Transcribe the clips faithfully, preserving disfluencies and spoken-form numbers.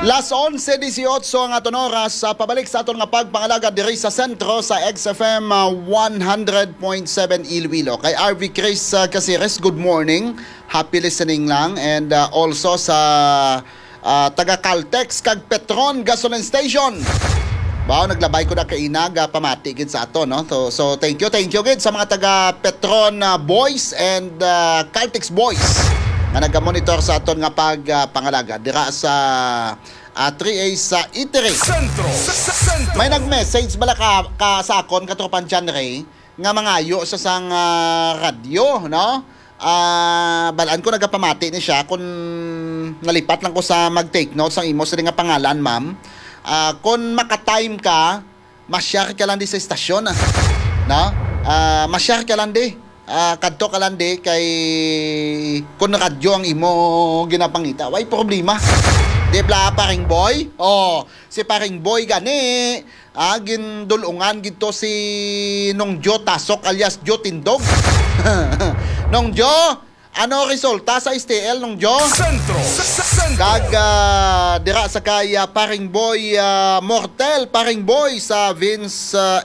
Las onse dieciocho ang aton oras. Sa pabalik sa aton nga pagpangalaga diri sa sentro sa X F M, ah, one hundred point seven Iloilo. Kay R V Chris, ah, Caceres, good morning. Happy listening lang. And, ah, also sa, ah, taga Caltex kag Petron Gasoline Station. Wow, naglabay ko na kaina, ga pamati gid sa ato, no? So, so thank you, thank you gid sa mga taga Petron, ah, Boys and, ah, Caltex Boys nga nagamonitor sa aton nga pag, ah, pangalaga dira sa, ah, three A sa Itiri. Sentro, sa, sa, sentro. May nag-message bala ka, ka sa akon, katropang John Ray, nga mangayo sa sang, ah, radyo, no? Ah, balaan ko nagapamati ni siya kung nalipat lang ko sa mag-take notes ang imo sila nga pangalan, ma'am. Ah, kung maka-time ka, ma-share ka lang di sa istasyon, ah. No? Ah, ma-share ka lang di. Ah, kadto ka lang di kay kung radyo ang imo ginapangita. Way problema. Di bala, paring boy? Oh, si paring boy gani. Ah, gindulungan gid to si Nong Jo Tasok alias Jo Tindog. Nong Jo, ano resulta sa S T L, Nong Jo? Sentro, sa, sa, sentro. Kag, ah, dira sa kay, ah, paring boy, ah, Mortel, paring boy sa Vince, ah,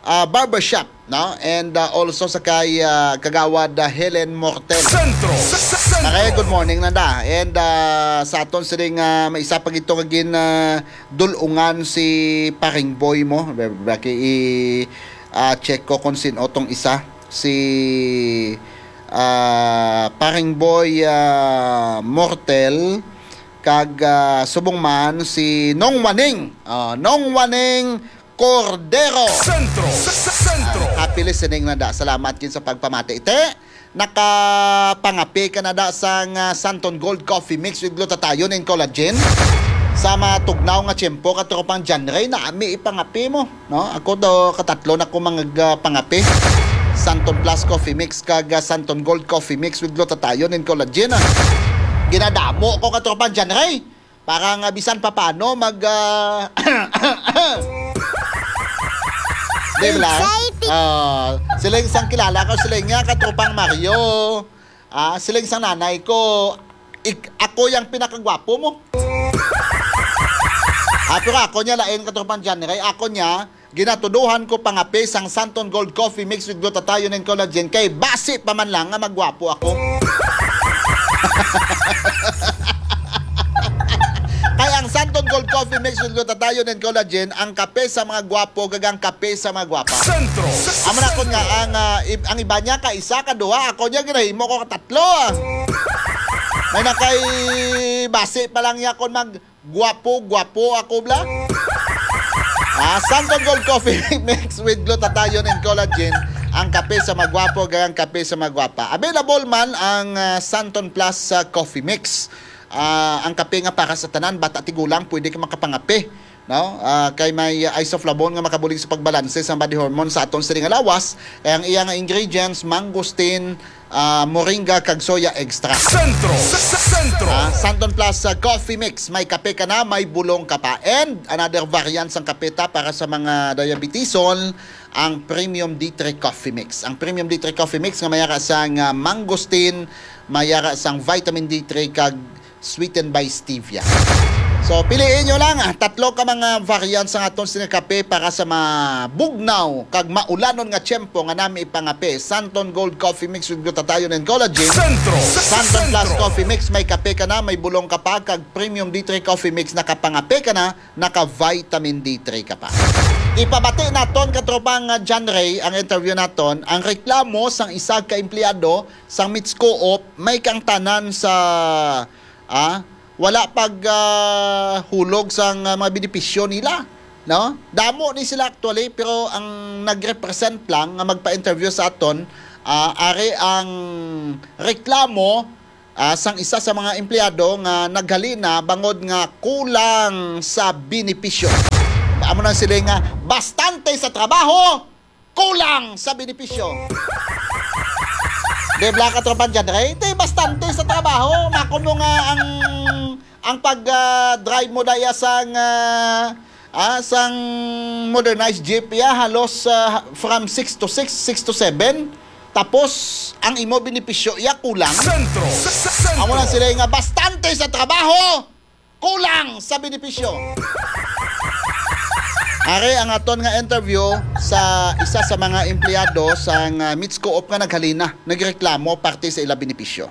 ah, Barbershop, no? And, ah, also sa kay, ah, Kagawad, ah, Helen Mortel. Sentro, sa, sa, sentro. Maray, good morning, Nanda. And, ah, sa aton sining, ah, may isa pa gito nga gin, ah, dulungan si paring boy mo. Baki i, ah, check ko kung sin-o tong isa. Si, ah, paring boy, ah, Mortel, kag, ah, subong man si Nong Waning. Ah, Nong Waning Cordero. Sentro, sa, sa, sentro. Ah, happy listening, Nanda. Salamat gid sa pagpamati. Te, nakapangape ka na da sang, ah, Santon Gold Coffee Mix with glutathione and collagen? Sa matugnaw nga tiyempo, katropang John Ray, nami ipangape mo, no? Ako do, katatlo na ko mga, ah, pangape. Santon Plus Coffee Mix kag, ah, Santon Gold Coffee Mix with glutathione and collagen, ah. Ginadamo ko, katropang John Ray. Para nga bisan pa paano mag, ah, di ba? Excited. Ah, sila yung isang kilala ko, sila yung nga, katropang Mario. Ah, sila yung isang nanay ko. Ik-, ako yung pinakagwapo mo. Ah, pero ako niya lain, katropang John Ray. Ako niya, ginatuduhan ko pangape sang Santon Gold Coffee Mix with glutathione and collagen kay basi pa man lang nga magwapo ako. Kay ang Santon Gold Coffee Mix with glutathione and collagen, ang kape sa mga gwapo, kag ang kape sa mga gwapa. Sentro. Amo na kun nga ang, ah, ib-, ang iba niya ka isa, ka duha, ako niya ginahimo ko ka tatlo, ah. May na kay basi pa lang niya kon mag gwapo, gwapo ako, bla? Ah, Santon Gold Coffee Mix with glutathione and collagen, ang kape sa magwapo, kag ang kape sa magwapa. Available man ang, ah, Santon Plus, ah, Coffee Mix. Ah, ang kape nga para sa tanan, bata, tigulang, pwede ka makapangape, no? Ah, kay may, ah, isoflavone nga makabulig sa pagbalanse sa body hormone sa aton siling nga lawas. Kay ang iya nga ingredients, mangosteen, ah, moringa kag soya extract. Sentro, sa, sa, sentro. Ah, Santon Plus, ah, Coffee Mix. May kape ka na, may bulong ka pa. And another variant sang kape ta para sa mga diabetison, ang Premium D three Coffee Mix. Ang Premium D three Coffee Mix nga may ara sang, ah, mangosteen, may ara sang vitamin D three kag sweetened by stevia. So, piliin nyo lang, ah, tatlo ka mga variants sang aton sining kape para sa mabugnaw kag maulanon nga tiyempo nga nami ipangape. Santon Gold Coffee Mix with glutathione and collagen. Sentro. Santon Plus Sentro. Coffee Mix, may kape ka na, may bulong ka pa, kag Premium D three Coffee Mix, nakapangape ka na, naka-vitamin D three ka pa. Ipabati naton, katropang, ah, John Ray, ang interview naton, ang reklamo sang isa ka empleyado sang Mitscoop, may kaangtanan sa, ah, wala pag, ah, hulog sang, ah, mga benepisyo nila, no? Damo ni sila actually, pero ang nag-represent lang nga magpa-interview sa aton, ah, ari ang reklamo, ah, sang isa sa mga empleyado nga naghalina bangod nga kulang sa benepisyo. Amo na sila nga bastante sa trabaho, kulang sa benepisyo. Di bala, katropang John Ray? Di, bastante sa trabaho. Makon mo nga ang, ang pag, ah, drive mo daya sang, ah, ah, sang modernized jeep, ya, halos, ah, from six to six, six to seven. Tapos, ang imo benepisyo, ya, kulang. Sentro. Sa, sa, sentro. Amo lang sila nga bastante sa trabaho. Kulang sa benepisyo. Ari ang aton nga interview sa isa sa mga empleyado sang, ah, Mitsco-op nga naghalina, nagreklamo parte sa ila benepisyo.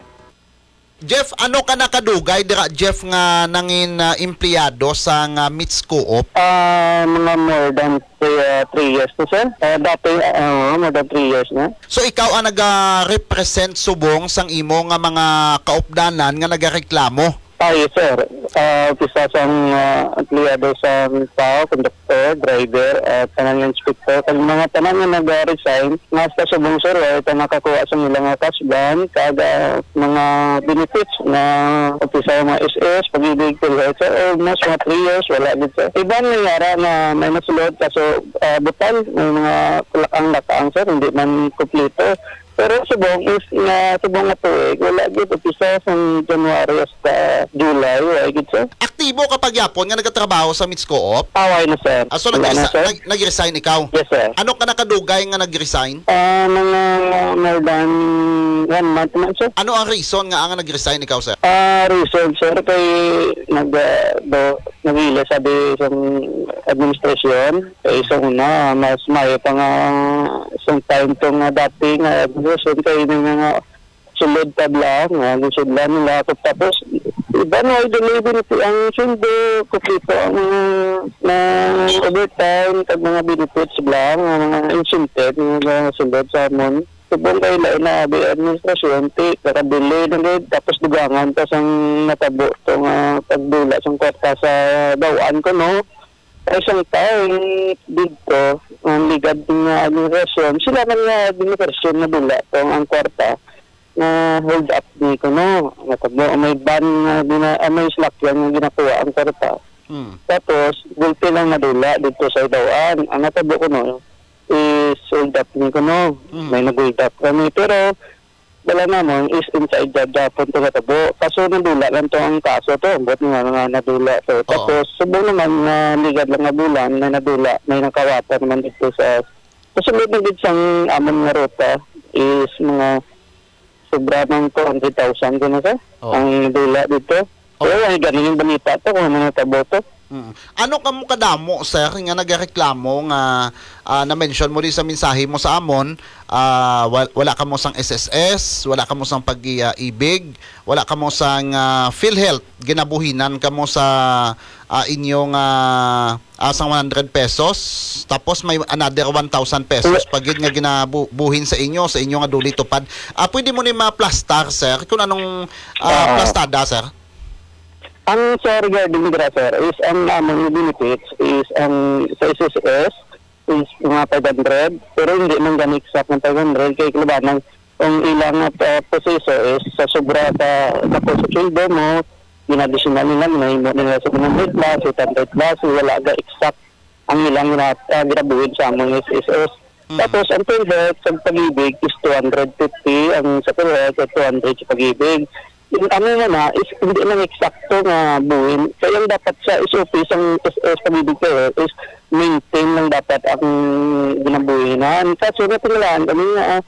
Jeff, ano ka nakadugay dira, Jeff, nga nangin, ah, empleyado sang, ah, Mitsco-op? Ah, mga more than three, ah, three years na, sir. Ah, dati, ah, more than three years na. So, ikaw ang nagarepresent subong sang imo nga mga kaupdanan nga nagareklamo? Ah, yes, sir. Ah, umpisa sang, ah, empleyado sang tao, konduktor, driver, at tanan nga inspektor. Kag mga tanan nga nag-resign, nga sa subong, sir, wala ta nakakuha sa ilang nga cash ban, kag, ah, mga benefits nga umpisa sa mga S S, Pag-ibig, PhilHealth, sir, almost mga three years, wala gid, sir. Iban nga yara nga may nasulod, kaso, ah, butal, may mga kulak-ang lakaang, sir, hindi man kumpleto. Pero subong is nga, subong nga tuig, wala gid, umpisa sang January hasta July, wala gid, sir. Aktibo ka pa gyapon nga nagatrabaho sa Mitsco-op? Away na, sir. Ah, so Wala na, nag-resi-, sir. nag-, nag-resign ikaw? Yes, sir. Ano ka nakadugay nga nag-resign? Ah, mga more than one month man, sir. Ano ang reason nga ang nag-resign ikaw, sir? Ah, reason, sir, kay nag, ah, do, nagila sabi sa administrasyon. Kay sa una, mas maayo pa nga isang time to nga dati nga administrasyon kay may mga sulod pa lang nga gisudlan nila ako. Tapos, iba na, ay delay din ang sundo, kumpleto ang mga, mga overtime, kag mga benefits lang, ang mga incentive, nga mga sulod sa amon. Subong kay lain na abi administrasyon, ti, kakadelay na gid, tapos dugangan pa sang natabo to nga pagdula sang kwarta sa bawaan ko, no? Ay, sang time dito, ang ligad nga administrasyon, sila man nga administrasyon nga dula to ang kwarta nga hold up ni kuno. Natabo, may ban nga gina-, ah, may slakyan nga ginakuha ang kwarta. Hmm. Tapos, gulpi lang nadula dito sa Idawaan. Ang natabo kuno is hold up ni kuno. Hmm. May nag-hold up kami. Pero, wala namon is inside job gihapon to natabo. Kaso nadula lang to ang kaso to. Ambot nga, nga nadula to. Oo. Tapos, subong naman nga ligad lang nga bulan, may nadula, may nakawata naman dito sa, sa sulod na gid sang amon nga ruta is mga sobra ng two hundred thousand ko na, sir. Oo. Ang nadula dito. Oo. Pero ay, ganun yung balita to kung ano natabo to. Mm. Ano kamo kadamo, sir, nga nagareklamo nga, ah, na-mention mo di sa mensahe mo sa amon, ah, wal-, wala kamo sang S S S, wala kamo sang pag-ibig, wala kamo sang, ah, PhilHealth, ginabuhinan kamo sa, ah, inyong, ah, ah, sang one hundred pesos, tapos may another one thousand pesos Wala. pa gid nga ginabuhin sa inyo, sa inyo nga duli tupad. Ah, pwede mo ni maplastar, sir, kung anong, ah, Ah. plastada, sir? Ang sa regarding dira, sir, is ang amon nga benefits is ang sa S S S is mga five hundred, pero hindi man gani exact ng five hundred, kay kalabanan ang ilang, ah, proseso is sa sobra sa dako sa sweldo mo, gin-additional nila, ginahimo nila sa one hundred plus, eight hundred plus, wala ga exact ang ilang gina-, ah, ginabuhin sa among S S S. Mm. Tapos, ang PhilHealth sa Pag-ibig is two hundred fifty, ang sa PhilHealth ay two hundred sa Pag-ibig. Yung ano mo na, is hindi lang eksakto nga buhin. Kaya ang dapat sa S O P sang S S Pag-ibig PhilHealth is maintain lang dapat ang ginabuhinan. Kaso natingalahan kami nga, ah,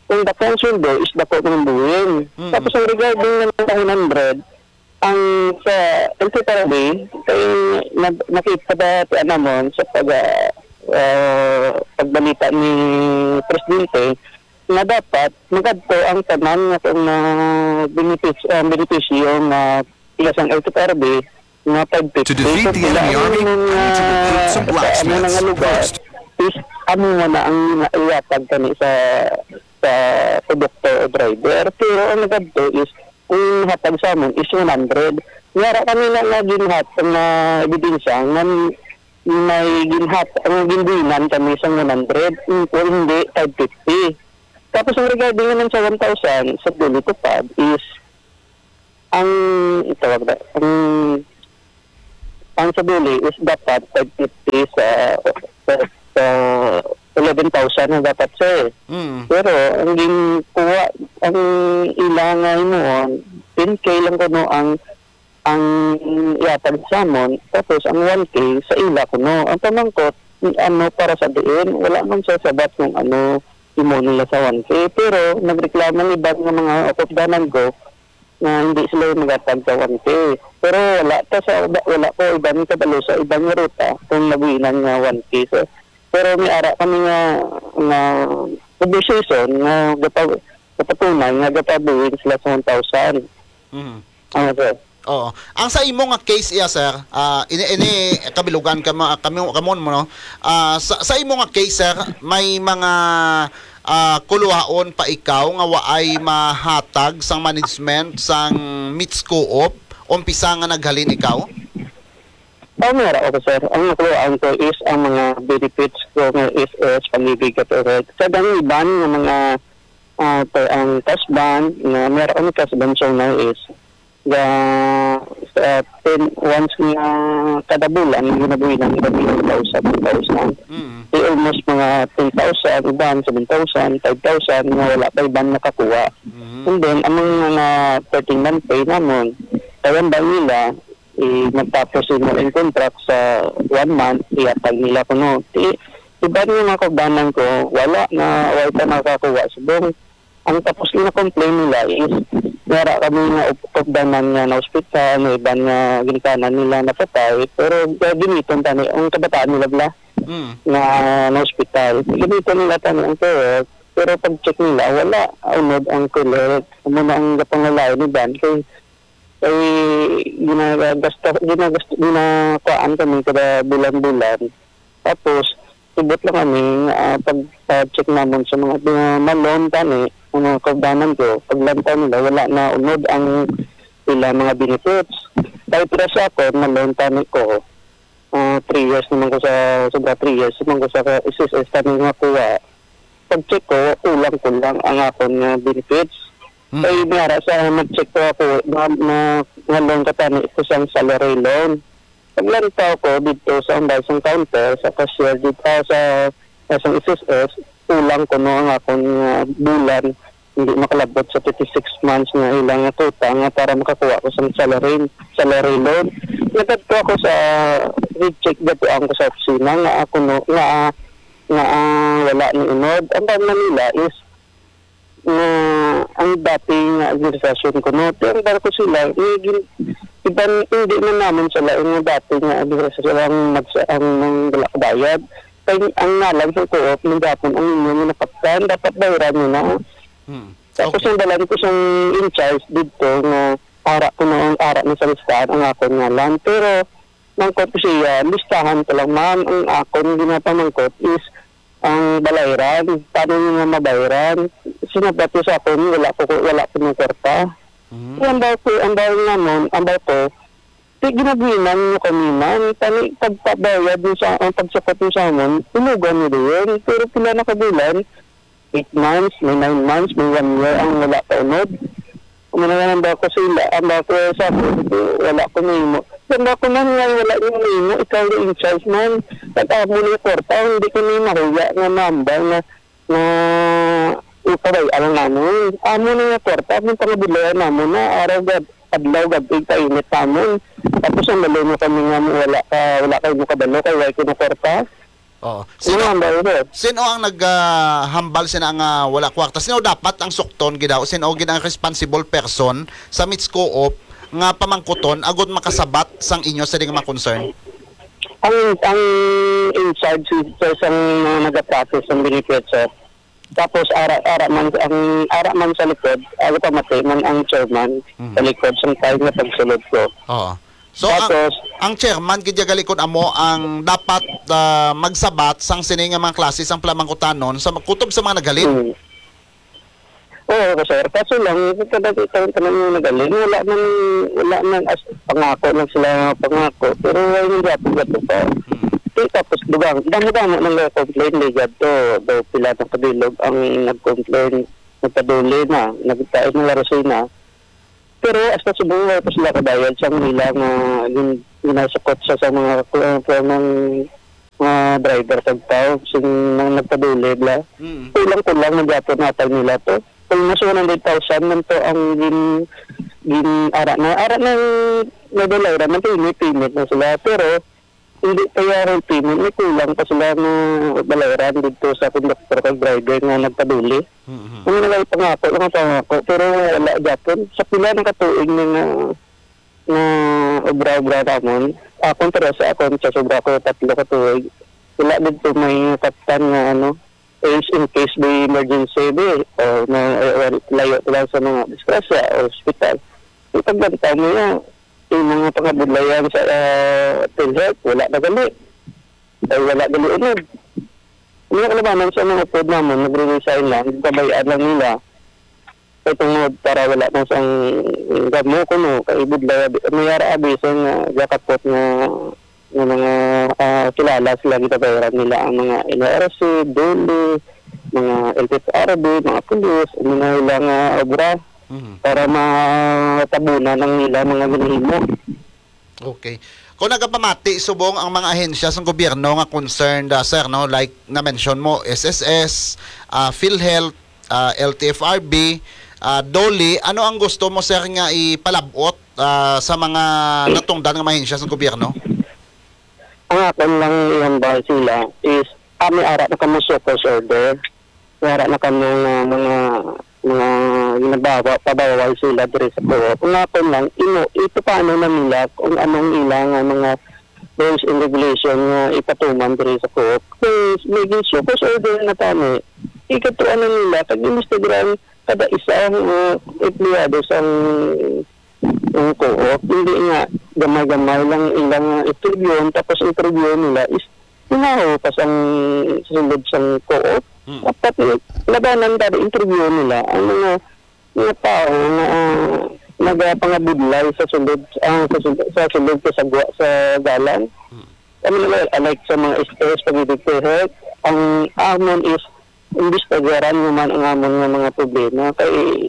kung dako ang sweldo, is dako man ang buhin. Mm. Tapos, ang regarding ng one hundred, ang sa L T F R B, kay nag-, nakita ba ti anamon sa pag, ah, ah, pagbalita ni Presidente nga dapat magadto ang tanan nga kung, ah, benefits-, ah, benepisyo nga sila sang L T F R B nga five fifty. To defeat the enemy army, I need to recruit some blacksmiths first. Is amo man na ang ihatag kani sa, sa konduktor o driver. Pero ang nagadto is ang hatag sa amon is one hundred. Yara kami na nga ginhat ang, ah, ebidensya nga may ginhat, ang ginbuhinan kami sa one hundred, kung hindi, five fifty. Tapos ang regarding naman sa one thousand, sa duli tupad is ang, itawag na, ang Ang sa duli is dapat five fifty sa, sa, sa eleven thousand ang dapat, sir. Mm. Pero ang ginkuha, ang ila nga himuon, ten K lang kuno ang, ang ihatag sa amon, tapos ang one K sa ila kuno. Ang pamangkot, ano, para sa diin, wala man siya sabat kung ano imo nila sa one K. Pero nagreklamo ang iban nga mga kaupdanan ko, nga hindi sila yung magatag sa one K. Pero wala pa sa, wala ko iban kabalo sa iban nga ruta kung nabuhinan nga one K, sir. Pero may ara kami nga, nga conversation nga gapa-, gapatunay nga gapabuhin sila sa one thousand. Mhm. Ano, sir? Oo. Ang sa imo nga case iya, sir, ah, ini, ini kabilugan ka ma-, kamo, kamo mo, no? Ah, sa, sa imo nga case, sir, may mga, ah, kuluhaon pa ikaw nga waay mahatag sang management sang Mitscoop, umpisa nga naghalin ikaw? Oh, meron ako, sir. Ang nakuhaan ko is ang mga benefits ko nga S S, pag-ibig at ulit. Sa dang iban nga mga, ah, to, ang cash band, nga meron kami cash band, so na is, ga, sa ten, once nga kada bulan, ang ginabuhi namin kami, two thousand, two thousand. Mm. Di almost mga ten thousand, iban, seven thousand, five thousand, nga wala pa iban nakakuha. Mm. And then, ang mga thirteen month pay namon, kaya ba nila, i-, magtapos sila ang contract sa one month, ihatag nila kuno. Ti-, iban nga mga kaugdanan ko, wala na, wala pa nakakuha subong. Ang tapos na complain nila is, may ara kami nga up-, kaugdanan nga na-hospital, may iban nga ginikanan nila napatay, pero gagamiton tani ang kabataan nila bala Mm. nga na-hospital. Gamiton nila tani ang COHEALTH, pero pag-check nila, wala, unod ang COHEALTH. Amo na ang gapangalain ni Dan kay, kay ginagasta-, ginagast-, ginakuhaan kami kada bulan-bulan. Tapos, subot lang kami, ah, pag, ah, check namon sa mga, mga ma-loan tani, ang mga kaugdanan ko, paglantaw nila, wala na unod ang ila mga benefits. Kay para sa ako, ma-loan tani ko, ah, three years naman ko sa, sobra three years naman ko sa S S S tani nga kuha. Pag-check ko, kulang-kulang ang akon nga benefits. Mm. Kay may ara sa mag-check ko ako, na, na, nga loan ka tani, ito sang salary loan. Paglantaw ko dito sa ambay sang counter, sa cashier dito, ah, sa, sa isang S S S, kulang kuno ang akon nga bulan, hindi makalabot sa thirty-six months nga ilang nga kuta nga para makakuha ko sa salary, salary loan. Nagkadto ako sa recheck, gatuan ko sa opisina nga ako no, nga, nga, ah, wala ni unod. Ang tawag na nila is nga ang dati nga administrasyon kuno, ti ang barko sila, may gin-, iban, hindi man namon sila nga dati nga administrasyon ang magsa-, ang nang wala kabayad. Kay ang ngalan sa co-op, man gihapon ang inyo nga nakaptan, dapat bayaran nyo na. Hmm. Tapos Okay. ang dalan ko sang in-charge didto nga ara ko na ang ara na sa listahan ang akon ngalan. Pero mangkot ko siya, listahan ko lang, ma'am, ang akon ginapamangkot is ang balayran, paano niyo nga mabayaran? Sinabat ko sa akon, wala ko, wala ko ng kwarta. Mm. Kaya ang daw ko, ang daw namon, ang daw ko, di ginabuhinan niyo kami, ma'am. Tani, pagpabayad niyo sa, ang pagsukot niyo sa amon, tulugan niyo din. Pero pila na kabulan, eight months, may nine months, may one year ang wala pa unod. Umuna nga nang bako sila, ang bako sa ako, wala ko nahimo. Ang bako man nga wala niyo nahimo, ikaw na in charge man. At amo na yung kwarta, hindi ko na mahuya nga mambal na, na ipabay-an lang namin. Amo na yung kwarta, ang pangabulayan namin na araw gab, adlaw gab, kainit namin. Tapos ang lalo mo kami nga mo wala ka, wala kayo mo kabalo, kay wala ko na kwarta. Oo. Sino, Sino ang driver? sino ang naghambal sina nga wala kwarta? Sino dapat ang sukton gid daw? Sino gid ang responsible person sa Mitscoop nga pamangkuton agud makasabat sang inyo sa di nga mga concern? Ang, ang in charge sa isang mga nagaprocess ng benefits, sir. Tapos ara, ara man ang ara man sa likod, ako pamati man ang chairman Mhm. sa likod sang time nga pagsulod ko. Oo. So, ang, Tapos ang chairman gid ya galikon amo ang dapat, ah, magsabat sang sini nga mga klase sang plamangkutanon sa kutob sa mga naghalin. Hmm. Oo, sir. Kaso lang, kada taon tanan nga naghalin, wala man, wala man as pangako lang sila nga pangako, pero wala man gyapon gato pa. Hmm. Di, tapos dugang, damo-damo nang complain di gadto, daw pila na kabilog ang nag-complain, nagpaduli na, nagtaas na larosina. Pero hasta subong wala pa sila kabayad sa nila nga gin-, ginasukot sa, sa mga, uh, mga, mga driver kag tao, sing nang nagpaduli bla. Mm. Kulang-kulang man gyapon natag nila to. Almost one hundred thousand man to ang gin-, gin-, ara na, ara na, nadalay ra man to, payment na sila. Pero hindi pa yung payment, may kulang pa sila nga bayaran dito sa conductor kag driver nga nagpaduli. Mhm. Ano na lang pangako, mga pangako, pero wala gyapon. Sa pila na ka tuig na nga, nga obra-obra namon, akon, pero sa akon, sa sobra ko tatlo ka tuig, wala dito may kaptan nga, ano, is in case may emergency, di, o may, eh, layo lang sa mga disgrasya o ospital. Yung pagbantaw mo yan, yung mga pangabudlayan sa, ah, PhilHealth, wala na gali. Ay, wala gali unod. Mga kalabanan sa mga upod namon, nagre-resign lang, gabayaan lang nila. Kay tungod para wala na sang gamo kuno, kay budlay abi, may ara abi sa nga gakapot nga, nga mga, ah, kilala sila, gitabayran nila ang mga N R C, DOLE, mga L T F R B, mga pulis, ang mga ilang, ah, obra Mhm. para matabunan ang ilang mga ginahimo. Okay. Kung nagapamati subong ang mga ahensya sang gobyerno nga concerned, ah, sir, no, like na-mention mo, S S S, ah, PhilHealth, ah, L T F R B, ah, DOLE, ano ang gusto mo, sir, nga ipalab-ot, ah, sa mga natungdan nga mga ahensya sang gobyerno? Ang akon lang ihambal sila is, ah, may ara na kamo show cause order. May ara na kamo nga mga, mga ginagawa, pabawal sila diri sa co-op. Ang akon lang, imo, ipapano na nila kung anong ilang nga mga rules and regulation nga ipatuman diri sa co-op. Kung may show cause order na tani, ikatuan na nila, kag imbestigaran kada isa nga empleyado sang ang co-op, hindi nga gamay-gamay lang ilang interviewon, tapos interview nila is hinaho pa sang sulod sang co-op. Hmm. Dapat i-, labanan kada interview nila ang mga, mga tao nga, ah, nagapangabudlay sa sulod, ah, sa sulod, sa sulod kasagwa sa dalan. Hmm. Kami nila, like sa mga S S, pag-ibig health, ang amon is imbestigaran naman ang amon nga mga problema. Kay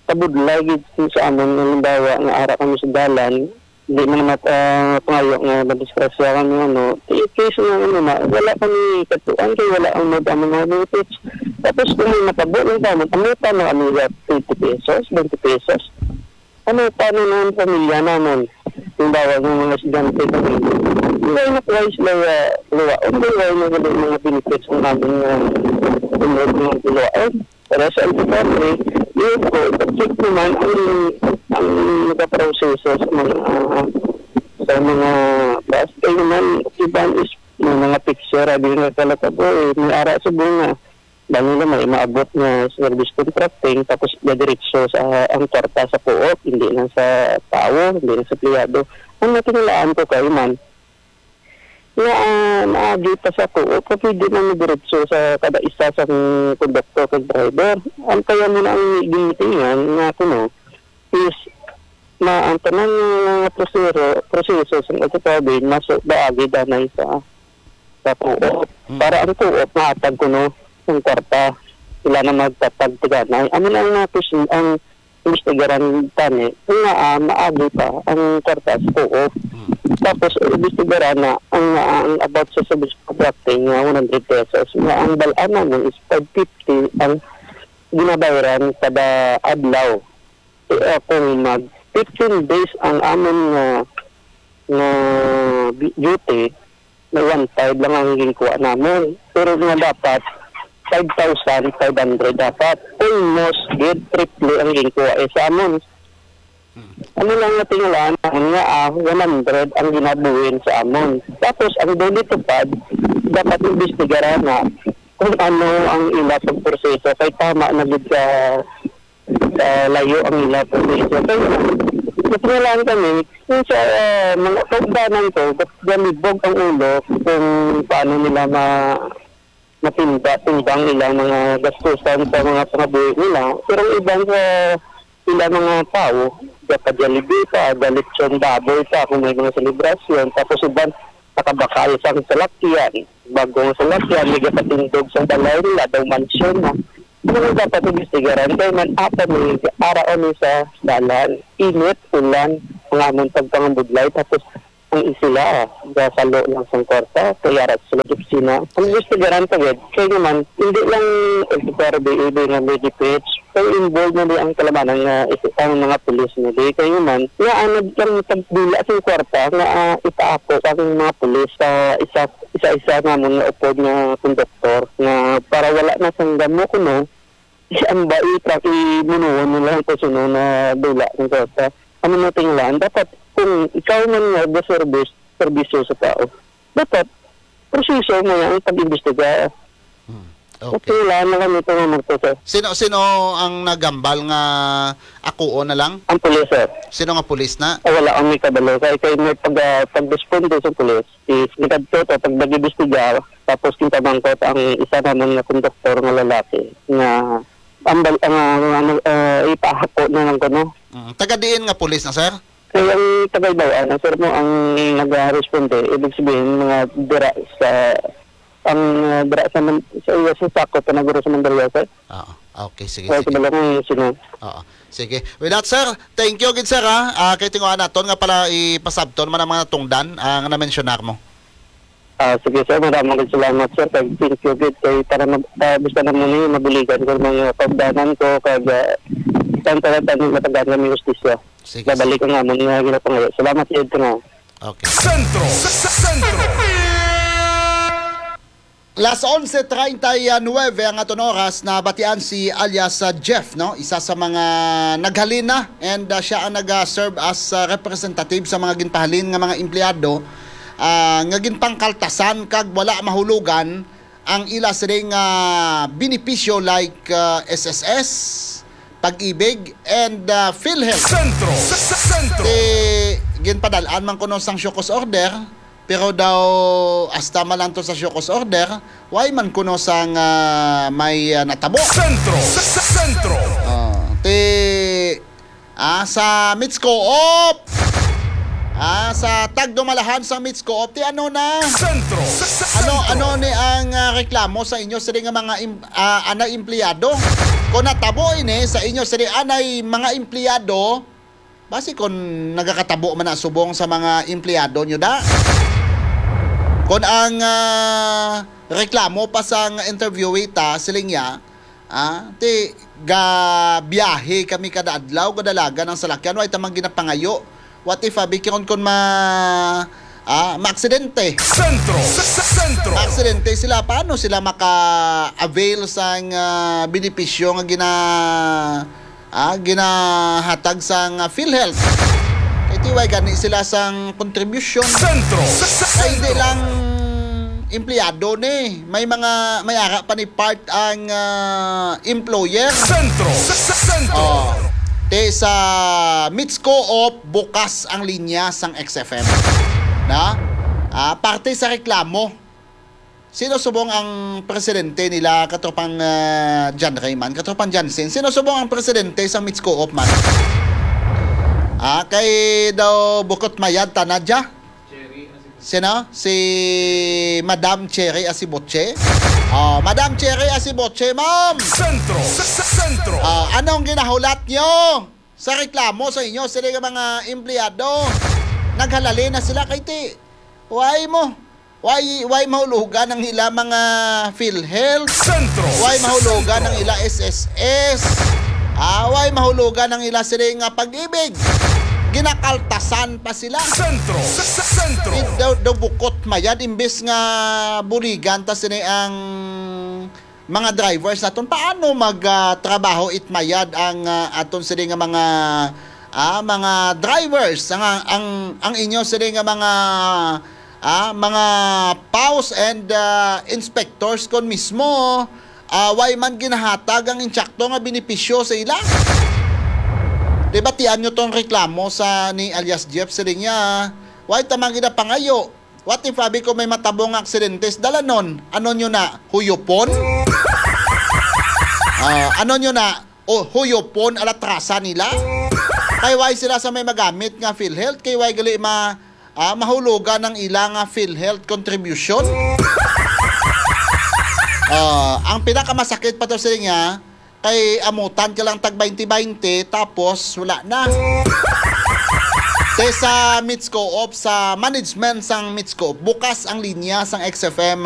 kabudlay gid sa amon nga, halimbawa, nga ara kami sa dalan, di man mat-, ah, pangayo nga madisgrasya kami, ano, i-case nga, ano, na, wala kami katuan kay wala ang mag-, ang mga benefits. Tapos kung may matabo lang kamo, amutan na kami sa twenty pesos, twenty pesos. Ano, paano na ang pamilya namon? Halimbawa, yung mga estudyante kami, wala na kuha sila, ah, luwaon, wala na gali mga benefits ang amon nga, ah, mga luwaon. Pero sa L T F R B, yun po, check naman ang, ang nagaproseso sa mga, ah, sa mga bus. Kaya naman, iban is may mga picture, abi nga pala ka po, eh, may ara sa bunga. Dahil na may maabot nga service contracting, tapos diretso sa ang kwarta sa co-op, hindi na sa tao, hindi na sa empleyado. Ang natinulaan ko kay man, nga, ah, naagi pa sa co-op, nga pwede na diretso sa kada isa sa konduktor kag driver. Ang kaya mo na ang ginitingan nga kuno is na ang tanan nga proseso, proseso sa pagkakabig maso baagi danay sa, sa co-op. Hmm. Para ang co-op mahatag kuno ang kwarta, sila na magtatag tiganay. Amo na ang mga pis-, ang imbestigaran tani, nga, ah, maagi pa ang kwarta sa co-op. Hmm. Tapos, imbestigaran na ang, ang about sa service contracting nga one hundred pesos, nga ang balaan namin is five fifty ang ginabayaran kada adlaw. Eh, kung mag fifteen days ang amon nga, nga bi-, duty, may one five lang ang ginkuha namon. Pero nga dapat, five thousand five hundred dapat. Almost gid triple ang ginkuha, eh, sa amon. Hmm. Ano lang nga tingulaan namon nga, ah, one hundred ang ginabuhin sa amon. Tapos, ang DOLE TUPAD, dapat imbestigaran na kung ano ang ila pagproseso. Kay tama na gid ka, ah, layo ang ila proseso. Kaya, natingala kami, kung sa, ah, mga kaugdanan ko, gat-, galibog ang ulo kung paano nila ma-, matinda-, timbang ilang mga gastusan sa mga pangabuhi nila. Pero ang iban sa ilang mga tao, gapa-Jollibee pa, galitsong baboy pa kung may mga selebrasyon. Tapos iban, nakabakal sang salakyan. Bagong salakyan, may gapatindog sa balay nila, daw mansyon na. Ano dapat imbestigaran? Kaya man, apa ni, ara ni sa dalan. Init, ulan, ang amon pagpangabudlay. Tapos, Sila, gasalo lang sang kwarta, kay ara sila sa opisina. Ang gusto garanta gid, kay naman, hindi lang F F R B A nga may gipitch, kay involved na di ang kalamanan nga is-, ang mga pulis na di. Kay naman, nga ano lang tagdula sa kwarta nga, ah, ipaako ang mga pulis sa isa, isa-isa namon nga upod nga konduktor nga para wala na sang damo kuno, ang bai, imunuon nila ang kusuno na dula ang kwarta. Ano mo tinglaan? Dapat kung ikaw man nga the service, serbisyo sa tao, dapat proseso mo yan ang pag-imbestiga. Hmm. Okay. Kailangan na kami ito nga magtuto. Sino, sino ang nagambal nga akuon na lang? Ang pulis, sir. Sino nga pulis na? Ah, wala kami kabalo. Kay, kay may pag, ah, pagresponde sa pulis, is nagkadto to, pag nag-imbestiga, tapos kintamangkot ang isa naman nga konduktor nga lalaki nga ambal, ang, ang, ano, ah, ipahako na lang ko, no? Mm. Taga diin nga pulis na, sir? Kay ang taga Ibawaan, ang sir mo, ang nag-responde, ibig sabihin, mga dira sa, ang, ah, dira sa Man-, sa iya sa sakop, panaguro sa Mandaluyong, sir. Oo. Okay, sige, Wala sige. Ko lang kung sino. Oo. Sige. With that, sir, thank you gid, sir, ha. Ah, kay tinguha naton nga pala ipasabton man ang mga natungdan, ah, nga na-mensionar mo. Ah, sige, sir, maraming salamat, sir. Kag thank you gid kay para mag-, ah, basta na mo ni mabuligan ko mga kaugdanan ko kag, ah, tan-, tan-, tan-, matagaan kami hustisya. Sige, Babalik ang amon nga ginapangayo. Salamat gid nga. Okay. Sentro, Sentro. Las onse treinta y nueve ang aton oras. Nabatian si alias, ah, Jeff, no? Isa sa mga naghalin na, and, ah, siya ang nag-serve as, ah, representative sa mga ginpahalin nga mga empleyado, ah, nga ginpangkaltasan kag wala mahulugan ang ila sining, ah, benepisyo like, ah, S S S, Pag-ibig, and, ah, PhilHealth. Sentro, Sentro. Ti ginpadal-an man kuno sang show cause order, pero daw hasta man lang to sa show cause order, why man kuno sang, ah, may, ah, natabo? Sentro, Sentro. Ah, ti, ah, sa Mitscoop. Ah, sa tagdumalahan sa Mitscoop, ti ano na? Sentro, Ano, Sentro. Ano ni ang, ah, reklamo sa inyo sini nga mga em-, ah, anay empleyado? Kung natabo ini sa inyo sini anay mga empleyado, basi kung nagakatabo man na subong sa mga empleyado nyo da? Kung ang, ah, reklamo pa sang interviewee ta, siling niya, ah, ti, gabiyahe kami kada adlaw, kadalagan ang salakyan, way tamang ginapangayo. What if, abi, kung, kung ma-, ah, maaksidente? Sentro, Sentro. Maaksidente sila, paano sila maka-avail sang, ah, benepisyo nga gina-, ah, ginahatag sang, ah, PhilHealth? Kay ti way gani sila sang contribution. Sentro, Kay di Sentro. lang empleyado ni, may mga, may ara pa ni part ang, ah, employer. Sentro, Sentro. Oh. Ti sa Mitscoop, bukas ang linya sang X F M. Na? Ah, parte sa reklamo. Sino subong ang presidente nila, katropang, ah, John Raymond, katropang Johnson? Sino subong ang presidente sang Mitscoop man? Ah, kay daw bukot mayad ta na dya? Sino? Si Madam Cherry Asibuche? Oh, Madam Cherry Asibuche, ma'am! Sentro! Sa, sa, sentro! Ah, anong ginahulat nyo sa reklamo sa inyo? Sila nga mga empleyado. Naghalali na sila kay ti. Why mo? Why, why mahulugan ang ila mga PhilHealth? Sentro! Why mahulugan ang ila S S S? Ah, why mahulugan ang ila sila nga pag-ibig? Ginakaltasan pa sila. Sentro! Sa, sa, sentro! It daw, daw bukot mayad, imbes nga buligan ta sini ang mga drivers naton. Paano mag, ah, trabaho it mayad ang, ah, aton sini nga mga, ah, mga drivers, ang, ang, ang inyo sini nga mga, ah, mga paus and, ah, inspectors kon mismo, ah, way man ginahatag ang insakto nga benepisyo sa ila? Di ba, tian nyo tong reklamo sa ni alias Jeff, siling niya, way tamang ginapangayo. What if, abi, ko may matabo nga aksidente sa dalanon? Ano nyo na? Huyopon? Ah, ano nyo na? O, huyopon, alatrasa nila? Kay way sila sa may magamit nga PhilHealth? Kay way gali ma-, ah, mahulugan ang ila nga PhilHealth contribution? Ah, ang pinakamasakit pa to sa niya, kay amutan ka lang tag baynte baynte, tapos wala na. Te sa Mitscoop, sa management sang Mitscoop, bukas ang linya sang X F M